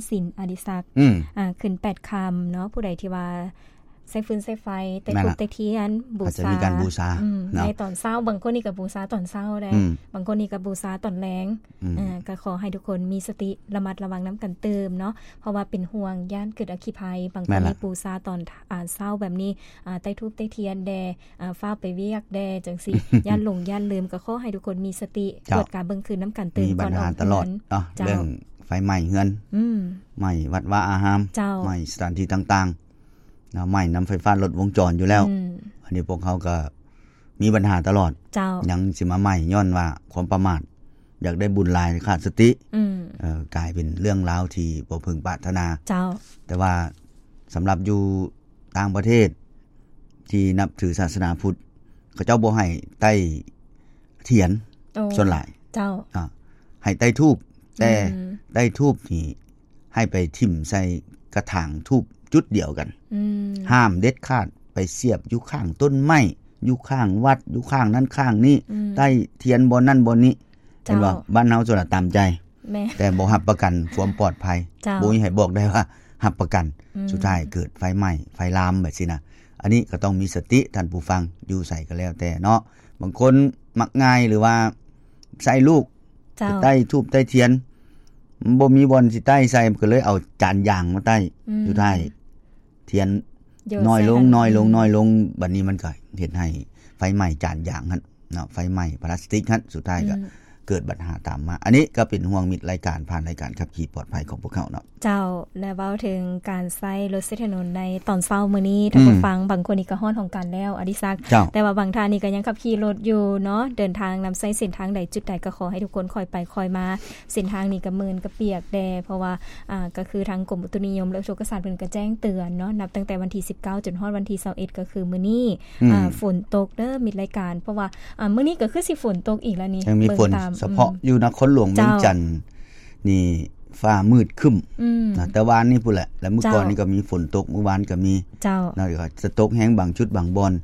ສິນ ອະດິສັກ ອືມ ອ່າ ຂຶ້ນແປດຄ່ຳເນາະ ຜູ້ໃດທີ່ວ່າໃຊ້ຟືນໃຊ້ໄຟ ແຕ່ ແມ່ນລະ ທູບແຕ່ທຽນ ບູຊາ ເຂົາຈະມີການບູຊາ ອືມ ເນາະ ໃນຕອນເຊົ້າ ບາງຄົນນີ້ກໍບູຊາຕອນເຊົ້າແດ່ ອືມ ບາງຄົນນີ້ກໍບູຊາຕອນແລງ ອືມ ເອີ ກໍຂໍໃຫ້ທຸກຄົນມີສະຕິ ລະມັດລະວັງນຳກັນຕື່ມເນາະ ເພາະວ່າເປັນຫ່ວງ ຢ້ານເກີດອັກຄີໄພ ບາງຄົນ ແມ່ນລະ ນີ້ບູຊາຕອນ ອາ ເຊົ້າແບບນີ້ ອາ ໄຕ້ທູບໄຕ້ທຽນແດ່ ອາ ຟ້າວໄປວຽກແດ່ ຈັ່ງຊີ້ ຢ້ານຫຼົງຢ້ານລືມ ກໍຂໍໃຫ້ທຸກຄົນມີສະຕິ ເຈົ້າ ກວດກາເບິ່ງຄືນນຳກັນຕື່ມ ມີບັນຫາຕະຫຼອດເນາະ ເຈົ້າ ເລື່ອງໄຟໄໝ້ເຮືອນ ອືມ ໄໝ້ວັດວາອາຮາມ ເຈົ້າ ໄໝ້ສະຖານທີ່ຕ່າງໆ ເນາະ ໄໝ້ນຳໄຟຟ້າລັດວົງຈອນຢູ່ແລ້ວ ອືມ ອັນນີ້ພວກເຮົາກໍມີບັນຫາຕະຫຼອດ ເຈົ້າ ຍັງຊິມາໄໝ້ຍ້ອນວ່າຄວາມປະໝາດ ຢາກໄດ້ບຸນຫຼາຍຂາດສະຕິ ອືມ ເອີ ກາຍເປັນເລື່ອງລາວທີ່ບໍ່ເພິ່ງປາດຖະໜາ ເຈົ້າ ແຕ່ວ່າສຳລັບຢູ່ຕ່າງປະເທດທີ່ນັບຖືສາສະໜາພຸດ ເຂົາເຈົ້າບໍ່ໃຫ້ໄຕ້ທຽນ ໂອ້ ສ່ວນຫຼາຍ ເຈົ້າ ອາ ໃຫ້ໄຕ້ທູບ ແຕ່ ອືມ ໄຕ້ທູບນີ້ ໃຫ້ໄປຖິ້ມໃສ່ກະຖາງທູບຈຸດດຽວກັນ ອືມ ຫ້າມເດັດຂາດ ໄປສຽບຢູ່ຂ້າງຕົ້ນໄມ້ ຢູ່ຂ້າງວັດ ຢູ່ຂ້າງນັ້ນຂ້າງນີ້ ອືມ ໄຕ້ທຽນບ່ອນນັ້ນບ່ອນນີ້ ເຈົ້າ ເຫັນບໍ່? ບ້ານເຮົາສ່ວນຫຼາຍຕາມໃຈ ແມ່ນ ແຕ່ບໍ່ຮັບປະກັນຄວາມປອດໄພ ເຈົ້າ ບໍ່ມີໃຜບອກໄດ້ວ່າຮັບປະກັນ ອືມ ສຸດທ້າຍເກີດໄຟໄໝ້ ໄຟລາມແບບຊີ້ນະ ອັນນີ້ກໍຕ້ອງມີສະຕິທ່ານຜູ້ຟັງ ຢູ່ໃສກໍແລ້ວແຕ່ເນາະ ບາງຄົນມັກງ່າຍ ຫຼືວ່າໃຊ້ລູກ ເຈົ້າ ໄຕ້ທູບໄຕ້ທຽນ ມັນບໍ່ມີບ່ອນຊິໄຕ້ໃສ່ ມັນກໍເລີຍເອົາຈານຢາງມາໄຕ້ ອືມ ສຸດທ້າຍທຽນ ຢອດ ນ້ອຍລົງ ໃສ່ຫັ້ນ ນ້ອຍລົງ ອືມ ນ້ອຍລົງ ບັດນີ້ມັນກໍເຮັດໃຫ້ໄຟໄໝ້ຈານຢາງຫັ້ນເນາະ ໄຟໄໝ້ພລາສຕິກຫັ້ນ ສຸດທ້າຍກໍ ອືມ ເກີດບັນຫາຕາມມາ ອັນນີ້ກໍເປັນຫ່ວງມິດລາຍການ ຜ່ານລາຍການຂັບຂີ່ປອດໄພຂອງພວກເຮົາເນາະ ເຈົ້າ ແລະ ເວົ້າເຖິງການໃຊ້ລົດໃຊ້ຖະໜົນໃນຕອນເຊົ້າມື້ນີ້ ອືມ ທ່ານຜູ້ຟັງ ບາງຄົນນີ້ກໍຮ້ອນຮອງການແລ້ວ ອະດິສັກ ເຈົ້າ ແຕ່ວ່າບາງທ່ານນີ້ກໍຍັງຂັບຂີ່ລົດຢູ່ເນາະ ເດີນທາງນຳໃຊ້ເສັ້ນທາງໃດຈຸດໃດ ກໍຂໍໃຫ້ທຸກຄົນຄ່ອຍໄປຄ່ອຍມາ ເສັ້ນທາງນີ້ກໍມື່ນກໍປຽກແດ່ ເພາະວ່າ ອ່າ ກໍຄືທາງກົມອຸຕຸນິຍົມ ແລະ ອຸທົກກະສາດເພິ່ນກໍແຈ້ງເຕືອນເນາະ ນັບຕັ້ງແຕ່ວັນທີສິບເກົ້າ ຈົນຮອດວັນທີຊາວເອັດ ກໍຄືມື້ນີ້ ອືມ ອ່າ ຝົນຕົກເດີມິດລາຍການ ເພາະວ່າ ອ່າ ມື້ນີ້ກໍຄືຊິຝົນຕົກອີກແລ້ວນີ້ ຍັງມີຝົນ ເບິ່ງຕາມ ສະເພາະ ອືມ ຢູ່ນະຄອນຫຼວງວຽງຈັນ ເຈົ້າ ນີ້ຟ້າມືດຄຶ້ມ ອືມ ນະ ແຕ່ວານນີ້ພຸ້ນແຫຼະ ແລະ ມື້ກ່ອນນີ້ກໍມີຝົນຕົກ ເຈົ້າ ມື້ວານກໍມີ ເຈົ້າ ນະ ກໍຈະຕົກແຮງບາງຈຸດບາງບ່ອນ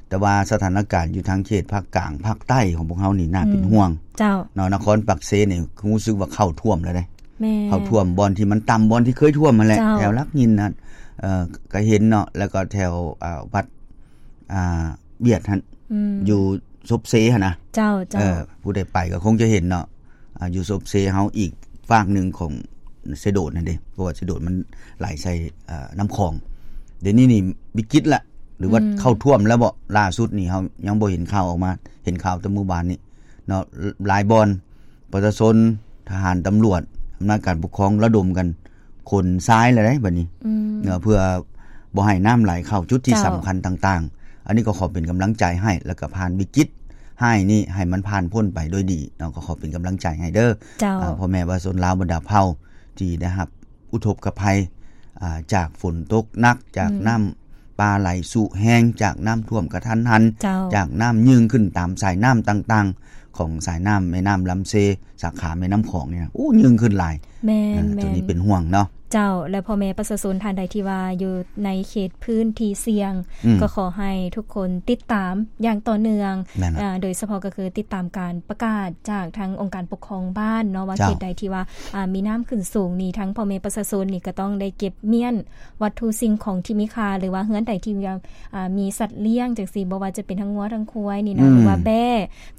ແຕ່ວ່າສະຖານະການຢູ່ທາງເຂດພາກກາງ ພາກໃຕ້ຂອງພວກເຮົານີ້ໜ້າເປັນ ອືມ ຫ່ວງ ເຈົ້າ ເນາະ ນະຄອນປາກເຊນີ້ຮູ້ສຶກວ່າເຂົ້າຖ້ວມແລ້ວເດ້ ແມ່ນ ເຂົ້າຖ້ວມບ່ອນທີ່ມັນຕ່ຳ ບ່ອນທີ່ເຄີຍຖ້ວມຫັ້ນແຫຼະ ເຈົ້າ ແຖວຫຼັກຫີນຫັ້ນ ເອີ ກໍເຫັນເນາະ ແລ້ວກໍແຖວ ອ່າ ວັດ ອ່າ ວຽດຫັ້ນ ອືມ ຢູ່ສົບເຊຫັ້ນນະ ເຈົ້າ ເຈົ້າ ເອີ ຜູ້ໃດໄປກໍຄົງຈະເຫັນເນາະ ອ່າ ຢູ່ສົບເຊເຮົາອີກຟາກໜຶ່ງຂອງເຊໂດດຫັ້ນເດ້ ເພາະວ່າເຊໂດດມັນໄຫຼໃສ່ ເອີ ນ້ຳຂອງ ດຽວນີ້ນີ້ວິກິດລະ ຫຼືວ່າ ອືມ ເຂົ້າຖ້ວມແລ້ວບໍ? ລ່າສຸດນີ້ເຮົາຍັງບໍ່ເຫັນຂ່າວອອກມາ ເຫັນຂ່າວແຕ່ມື້ວານນີ້ເນາະ ຫຼາຍບ່ອນ ປະຊາຊົນ ທະຫານ ຕຳຫຼວດ ອຳນາດການປົກຄອງລະດົມກັນຂົນຊາຍແລ້ວເດ້ບັດນີ້ ອືມ ເນາະ ເພື່ອບໍ່ໃຫ້ນ້ຳໄຫຼເຂົ້າຈຸດທີ່ ເຈົ້າ ສຳຄັນຕ່າງໆ ອັນນີ້ກໍຂໍເປັນກຳລັງໃຈໃຫ້ ແລ້ວກໍຜ່ານວິກິດຮ້າຍນີ້ໃຫ້ມັນຜ່ານພົ້ນໄປໂດຍດີເນາະ ກໍຂໍເປັນກຳລັງໃຈໃຫ້ເດີ ເຈົ້າ ອ່າ ພໍ່ແມ່ປະຊາຊົນລາວບັນດາເຜົ່າທີ່ໄດ້ຮັບ ອຸທົກກະໄພ ອ່າ ຈາກຝົນຕົກໜັກ ຈາກ ອືມ ນ້ຳປ່າໄຫຼຊຸແຮງ ຈາກນ້ຳຖ້ວມກະທັນຫັນ ເຈົ້າ ຈາກນ້ຳຍື່ນຂຶ້ນຕາມສາຍນ້ຳຕ່າງໆ ຂອງສາຍນ້ຳແມ່ນ້ຳລຳເຊ ສາຂາແມ່ນ້ຳຂອງນີ້ນະ ໂອ້ ຍື່ນຂຶ້ນຫຼາຍ ແມ່ນ ເອີ ແມ່ນ ໂຕນີ້ເປັນຫ່ວງເນາະ ເຈົ້າ ແລະ ພໍ່ແມ່ປະຊາຊົນທ່ານໃດທີ່ວ່າຢູ່ໃນເຂດພື້ນທີ່ສ່ຽງ ອືມ ກໍຂໍໃຫ້ທຸກຄົນຕິດຕາມຢ່າງຕໍ່ເນື່ອງ ແມ່ນລະ ເອີ ໂດຍສະເພາະກໍຄືຕິດຕາມການປະກາດຈາກທາງອົງການປົກຄອງບ້ານເນາະ ວ່າ ເຈົ້າ ເຂດໃດທີ່ວ່າ ອ່າ ມີນ້ຳຂຶ້ນສູງນີ້ ທັງພໍ່ແມ່ປະຊາຊົນນີ້ກໍຕ້ອງໄດ້ເກັບມ້ຽນວັດຖຸສິ່ງຂອງທີ່ມີຄ່າ ຫຼືວ່າເຮືອນໃດທີ່ວ່າ ອ່າ ມີສັດລ້ຽງຈັ່ງຊີ້ ບໍ່ວ່າຈະເປັນທັງງົວທັງຄວາຍນີ້ນະ ອືມ ຫຼືວ່າແບ້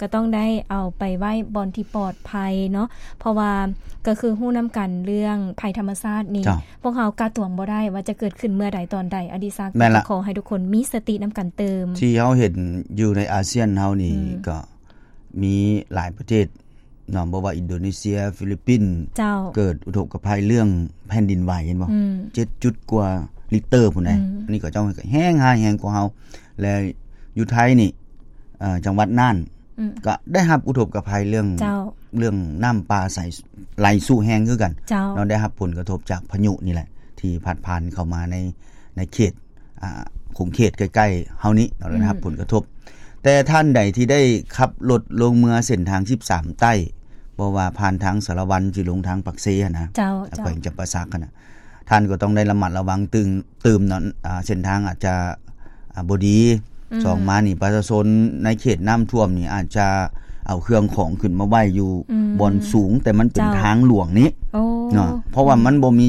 ກໍຕ້ອງໄດ້ເອົາໄປໄວ້ບ່ອນທີ່ປອດໄພເນາະ ເພາະວ່າກໍຄືຮູ້ນຳກັນເລື່ອງໄພທຳມະຊາດນີ້ ເຈົ້າ ພວກເຮົາກະຕວງບໍ່ໄດ້ວ່າຈະເກີດຂຶ້ນເມື່ອໃດຕອນໃດ ອະດິສັກ ແມ່ນລະ ກໍຂໍໃຫ້ທຸກຄົນມີສະຕິນຳກັນຕື່ມ ທີ່ເຮົາເຫັນຢູ່ໃນອາຊຽນເຮົານີ້ ອືມ ກໍ ມີຫຼາຍປະເທດເນາະ ບໍ່ວ່າອິນໂດເນເຊຍ ຟີລິບປິນ ເຈົ້າ ເກີດອຸທົກກະໄພເລື່ອງແຜ່ນດິນໄຫວ ເຫັນບໍ່? ອືມ ເຈັດຈຸດກວ່າລິກເຕີພຸ້ນໃດ ອືມ ອັນນີ້ກໍເຈົ້າແຮງຮ້າຍແຮງກວ່າເຮົາ ແລະ ຢູ່ໄທນີ້ ເອີ ຈັງຫວັດນ່ານ ອືມ ກໍໄດ້ຮັບອຸທົກກະໄພເລື່ອງ ເຈົ້າ ເລື່ອງນ້ຳປ່າໄຫຼຊຸແຮງຄືກັນ ເຈົ້າ ເນາະ ໄດ້ຮັບຜົນກະທົບຈາກພາຍຸນີ້ແຫຼະ ທີ່ພັດຜ່ານເຂົ້າມາໃນ ໃນເຂດ ອ່າ ຂົງເຂດໃກ້ໆເຮົານີ້ເນາະ ອືມ ໄດ້ຮັບຜົນກະທົບ ແຕ່ທ່ານໃດທີ່ໄດ້ຂັບລົດລົງເມືອເສັ້ນທາງສິບສາມໃຕ້ ບໍ່ວ່າຜ່ານທາງສາລະວັນຊິລົງທາງປາກເຊຫັ້ນນະ ເຈົ້າ ແຂວງຈຳປາສັກຫັ້ນນະ ທ່ານກໍຕ້ອງໄດ້ລະມັດລະວັງຕື່ມ ຕື່ມເນາະ ອ່າ ເສັ້ນທາງອາດຈະ ອ່າ ບໍ່ດີ ອືມ ສອງມານີ້ປະຊາຊົນໃນເຂດນ້ຳຖ້ວມນີ້ອາດຈະເອົາເຄື່ອງຂອງຂຶ້ນມາໄວ້ຢູ່ ອືມ ບ່ອນສູງ ແຕ່ມັນເປັນ ເຈົ້າ ທາງຫຼວງນີ້ ໂອ້ ເນາະ ເພາະວ່າ ອືມ ມັນບໍ່ມີ